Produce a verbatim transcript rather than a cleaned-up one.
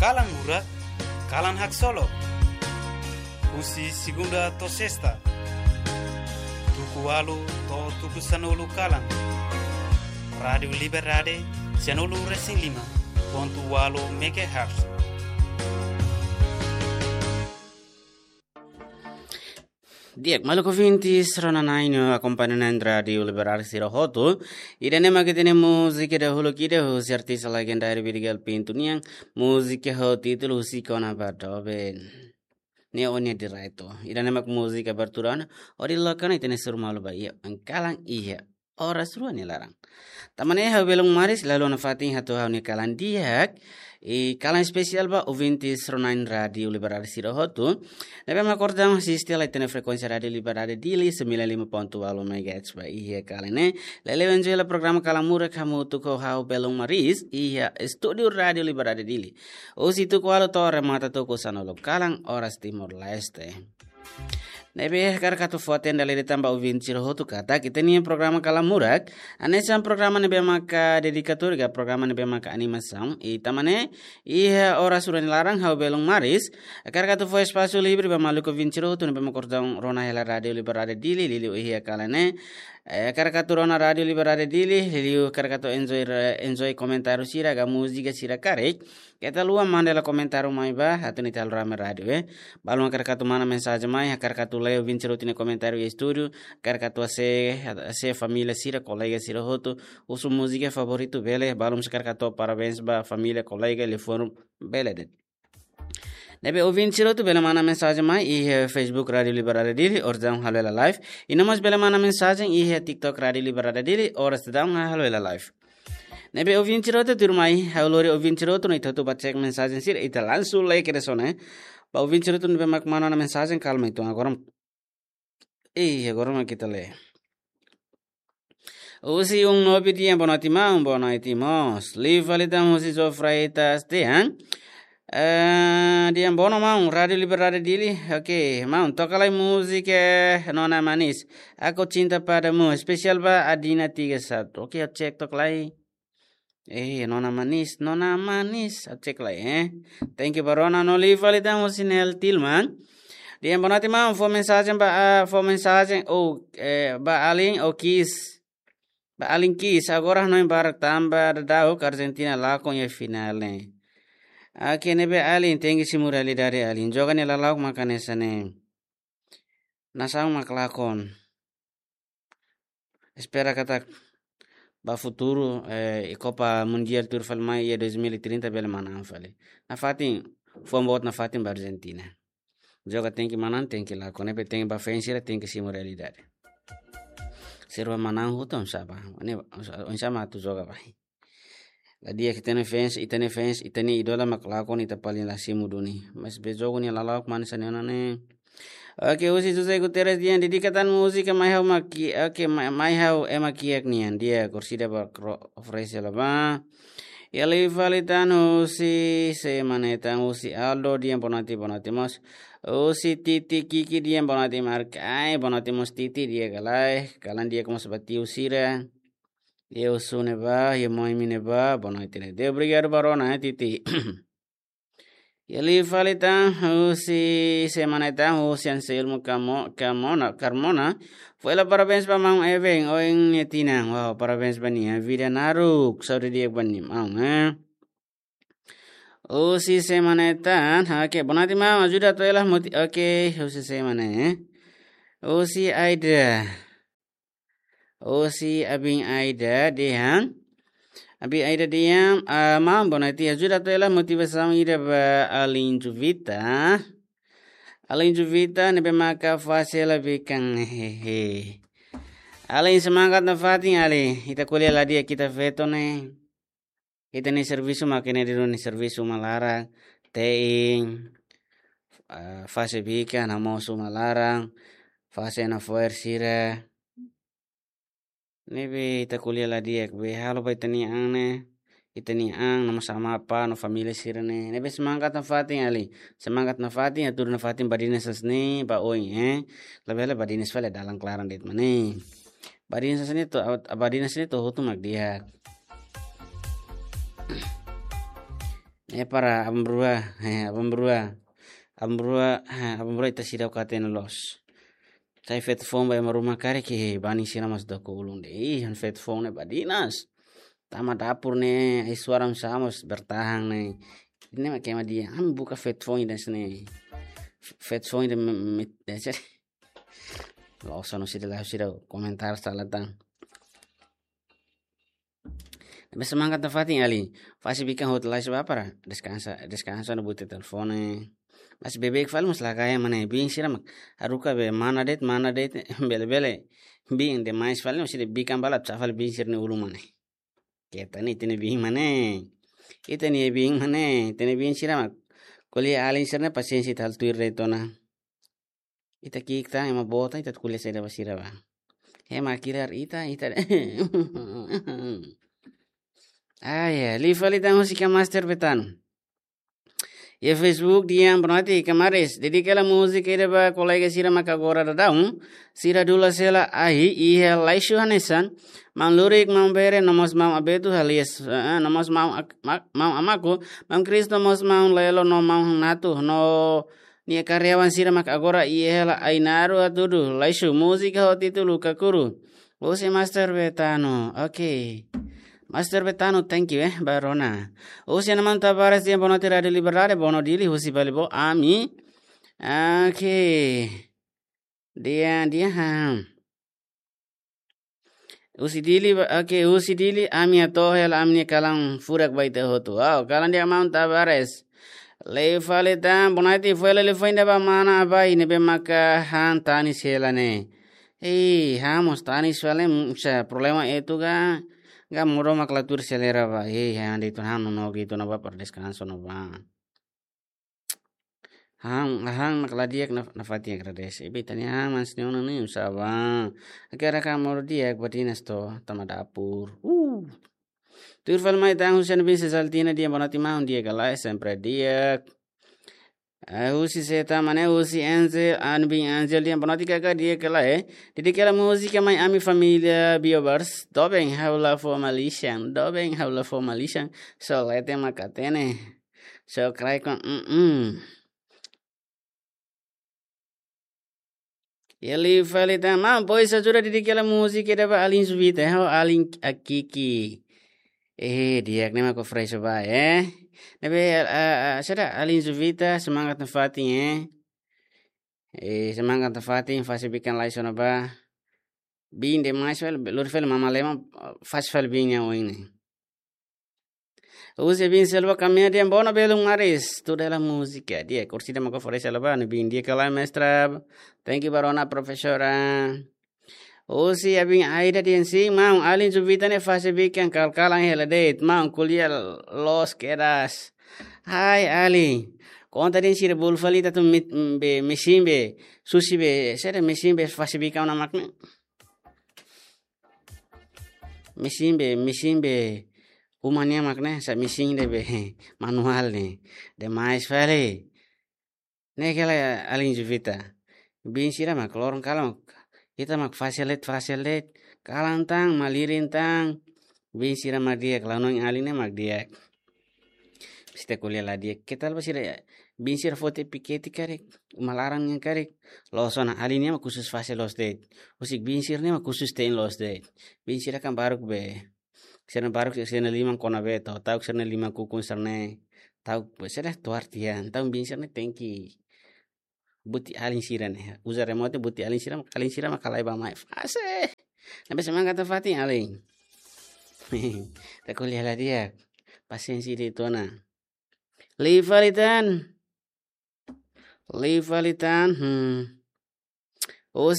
Kalan Murak, kalan haksolok. Husi segunda to'o sesta, tuku ualu to'o tuku sanulu kalan. Rádiu Liberdade, sanulu resin lima pontu ualu megahertz. Di'ak, maluk ouvintes, rona-na'in no akompaña na'in Rádiu Liberdade sira hotu. Ida-ne'e mak ita-nia múzika dahuluk ida husi artis legendáriu Vidigal Pinto nian. Múzika ho títulu Husik Ona Ba Doben. Ne'e ó-nia direitu. Ida-ne'e mak múzika abertura ona, hodi loke ona ita-nia suru malu ba iha kalan iha oras rua nia laran. Tanba ne'e ha'u belun Maris, la iha ona fatin hato'o ha'u-nia kalan di'ak, i kalan espesiál ba ouvintes rona-na'in Rádiu Liberdade sira hotu ne'ebé mak kordang asiste hela ita-nia frekuénsia Rádiu Liberdade Dili, sembilan lima pontu ualu megahertz ba iha kalan ne'e. Lele enjoy hela programa Kalan Murak hamutuk ho ha'u belun Maris iha estúdiu Rádiu Liberdade Dili. Husi tuku ualu to'o remata tuku sanulu kalan oras Timor-Leste. Ne'ebé hakarak atu fó-hatene dala ida tan ba ouvinte sira hotu katak ita-nia programa Kalan Murak hanesan programa ne'ebé maka dedikatóriu ka programa ne'ebé maka animasaun. I tanba ne'e iha oras rua nia laran ha'u belun Maris hakarak atu fó espasu livre ba maluk ouvinte sira hotu ne'ebé mak kordang rona hela Rádiu Liberdade Dili liuliu iha kalan ne'e. Eh, hakarak atu rona Rádiu Liberdade Dili liuliu hakarak atu enjoy, enjoy komentáriu sira ka múzika sira karik. Keta haluha manda hela komentáriu mai ba atu ita halo rame rádiu, eh. Balun hakarak atu manda mensajen mai, hakarak atu lee ouvinte sira hotu nia komentáriu iha estúdiu, hakarak atu hase'e, hase'e família sira, kolega sira hotu, husu múzika favoritu bele, balun se hakarak atu parabéns ba família, kolega, liafuan bele de'it. Ne'ebé ouvinte sira hotu bele manda mensajen mai iha Facebook Rádiu Liberdade Dili, oras daudaun halo hela live. I no mós bele manda mensajen iha TikTok Rádiu Liberdade Dili, oras daudaun halo hela live. Ne'ebé ouvinte sira hotu tuirmai, ha'u lori ouvinte sira hotu no ita hotu bá cek mensajen sira, ita langsung lee kedas ona, eh. Ba ouvinte sira hotu ne'ebé mak manda ona mensajen, kalma ita agora. Eh, agora mak ita lee. Husi um nobi di'ak, boa noite maun, boa noite mós. Liu fali tan husi João Freitas dehan. Eh, di'ak, boa noite maun, Rádiu Liberdade Dili. Oke, maun, toka lai múzika Nona Manis, Aku Cinta Padamu, espesiál ba Adina tiga satu. Oke, ha'u cek toka lai. Eh, Nona Manis, Nona Manis, ha'u cek lai, eh. Thank you ba rona, no liu fali tan husi Nel Tilman. Di'ak, boa noite maun, fó mensajen ba, ah, fó mensajen, oh, eh, ba alin, oh, kiss. Ba alin kiss, agora hanoin barak tanba daudauk Argentina lakon iha finál ne'e. Oke, ne'ebé alin, tenke simu realidade alin. Joga ne'e lala'ok maka hanesan ne'e. Nasaun mak lakon. Espera katak ba futuru, eh, Copa Mundial tuir fali mai iha dois mil e trinta bele manán fali. Nafatin, fuan boot nafatin ba Argentina. Joga tenke manán, tenke lakon, ne'ebé tenke ba fans sira, tenke simu realidade. Se rua manán hotu oinsá bá. Ne'e, oinsá, oinsá mak atu joga bá. La di'ak ita-nia fans, ita-nia fans, ita-nia ídolu mak lakon, ita paling la simu duni. Mas be jogu nia lala'ok mak hanesan ne'e ona ne'e. Oke, husi José Guterres dehan dedika tan múzika Mai Ha'u Ema Ki-, oke, Mai, Mai Ha'u Ema Kiak nian, di'ak, orsida ba kro-, oferese hela bá. Liu fali tan husi sé mak ne'e tan, husi Aldo dehan boa noite, boa noite mós. Husi Titi Kiki dehan boa noite Mark. Ai, boa noite mós Titi, di'ak ka lae. Kalan di'ak mós ba tiu sira. Di'ak husu ne'ebá, iha Moimi ne'ebá, boa noite ne'e. Di'ak, obrigadu ba rona, eh, Titi. Liu fali tan husi sé mak ne'e tan, husi Anselmo Camo-, Camona, Carmona. Fó hela parabéns ba maun Eben, ohin nia tinan. Wow, parabéns ba nia, vida naruk, saúde di'ak ba nia maun, eh. Husi sé mak ne'e tan, oke, boa noite maun, ajuda atu hela moti-, oke, husi sé mak ne'e, eh. Husi Aida. Husi abin Aida dehan. Abin Aida dehan, ah, maun, boa noite, ajuda atu hela motivasaun ida ba alin Juvita. Alin Juvita ne'ebé maka fase hela bikan, hehe. Alin, semangat nafatin, alin. Ita ko'alia la di'ak ita feto ne'e. Ita-nia servisu mak ne'e, ita-nia servisu uma laran, te'in, ah, fase bikan, hamoos uma laran, fase nafoer sira. Ne'ebé ita ko'alia la di'ak, be halo ba ita-nia an ne'e, ita-nia an, no mós amá, apá, no família sira ne'e. Ne'ebé semangat nafatin, alin. Semangat nafatin, hatudu nafatin badinas hanesan ne'e ba oin, eh. Labele badinas fali dalan klaran de'it mak ne'e. Badinas hanesan ne'e to'o, badinas hanesan ne'e to'o hotu mak di'ak. Eh, para aban-bainrua, eh, aban-bainrua, aban-bainrua, eh, aban-bainrua ita seidauk hatene loos. Sai feto foun ba ema ruma karik, banin sira mós doko ulun de'it. Ih, han feto foun ne'e badinas. Tama dapur ne'e, ai suara mós bertahan ne'e. Ne'e mak ema dehan, ami buka feto foun ida hanesan ne'e. Feto foun ida me, me, eh, seri. Loos ona sira la, sira komentar sala tan. Ne'ebé semangat nafatin, alin. Fase bikan hotu lai seba para deskansa, deskansa no bute telefone. Mas beibeik fali mós la gaya mana biin sira mak haruka be mana de'it, mana de'it, bele-bele. Biin demais fali mós sira bikan balu sá fali biin sira-nia ulun mak ne'e. Keta ne'e ita-nia biin mak ne'e. Ita-nia biin mak ne'e, ita-nia biin sira mak ko'alia alin sira-ne'e pasiénsia ita halo tuir de'it ona. Ita ki'ik tan, ema boot tan, ita ko'alia saida ba sira ba. Ema kilar ita, ita. Ah, ya, liu fali tan husi ka Master Betano. Iha Facebook dehan boa noite, kamares. Dedika hela múzika ida ba kolega sira mak agora daudaun. Sira dula sela ahi, iha Laixu hanesan. Maun Lurik, Maun Bere, no mós Maun Abetu, alias, eh, no mós Maun Ak-, Mak-, Maun Amaku, Maun Kristo, no mós Maun Lelo, no Maun Natu, no nia karyawan sira mak agora iha hela Ainaro hatudu, Laixu, múzika ho títulu Kakuru. Husi Master Betano. Oke. Master Betano, thank you, eh, ba rona. Husi Ana Maun Tavares dehan boa noite Rádio Liberdade, boa noite Dili, husi Balibo, ami. Oke. Dehan, dehan, ha. Husi Dili ba, oke, husi Dili, ami hato'o hela ami-nia kalan furak ba ita hotu. Wow, kalan dehan Maun Tavares. Liu fali tan, boa noite, foin hela liafuan ida ba mana Abai, ne'ebé maka han tanis hela ne'e. Hei, han mós tanis fali, mm, sa problema itu ka, ka modo mak la tuir selera ba. Hei, han de'it ona, han no, no, gitu na ba para deskansa no ba. Han, han mak la di'ak na, nafatin agradese. Ibe tanya han mas ni ona ni usaba. Agora ka modo di'ak badinas to, tama dapur. Uh. Tuir fali mai tan husi Ana Biin Sesaltina dehan boa noite maun, di'ak ka lae, sempre di'ak. Eh, husi seta mane, husi Angel, Ana Biin Angel dehan boa noite kaka, di'ak ka lae. Dedika hela múzika mai ami família Biobars. Doben ha'u la fó malisan, doben ha'u la fó malisan. Só leten mak hatene. Só kraik kon, mm, mm. Liu fali tan, maun, pois ajuda dedika hela múzika ida ba alin Juvita, ho alin Akiki. Eh, di'ak ne'e mak fresh ba, eh. Ne'ebé, ah, ah, saida alin Juvita, semangat nafatin, eh. Eh, semangat nafatin, fase bikan lai sona ba. Biin demais fali, lori fali mama lema, fase fali biin nia oin ne'e. Husi Biin Selva Kamea dehan boa noite belun maris. Tudo ela múzika. Di'ak, kursi da mako fore selva, no biin di'ak ka lae mestra. Thank you ba rona profesora. Husi Ana Biin Aida dehan sin, maun, alin Juvita ne'e fase bikan kal-kalan hela de'it. Maun, ko'alia loos kedas. Hai, alin. Konta dehan sira bolu fali ita atu mit-, be, mesin be, susi be, saida mesin be fase bikan ona mak ne'e. Mesin be, mesin be, uma nian mak ne'e, sa mesin ida be, manuál ne'e. Demais fali. Ne'e kela alin Juvita. Biin sira mak loron kalan mak. Ita mak fase de'it, fase de'it. Kalan tan, malirin tan. Biin sira mak di'ak, la noin alin ne'e mak di'ak. Sita ko'alia la di'ak. Ketal ba sira, biin sira foti piketi karik, uma laran nian karik. Loos ona, alin nian mak khusus fase loos de'it. Husik biin sira-ne'e mak khusus te'in loos de'it. Biin sira kan baruk be. Sira-ne'e baruk sira-ne'e liman kona be to. Ta'uk sira-ne'e liman kukun sira-ne'e. Ta'uk be sira tuar tian. Ta'uk biin sira-ne'e tenke buti alin sira-ne'e. Uza remote buti alin sira, alin sira mak ka lae ba mai. Fase. Ne'ebé semangat nafatin alin. Ita ko'alia la di'ak. Pasiénsia de'it ona. Liu fali tan. Liu fali tan. Hmm. Husi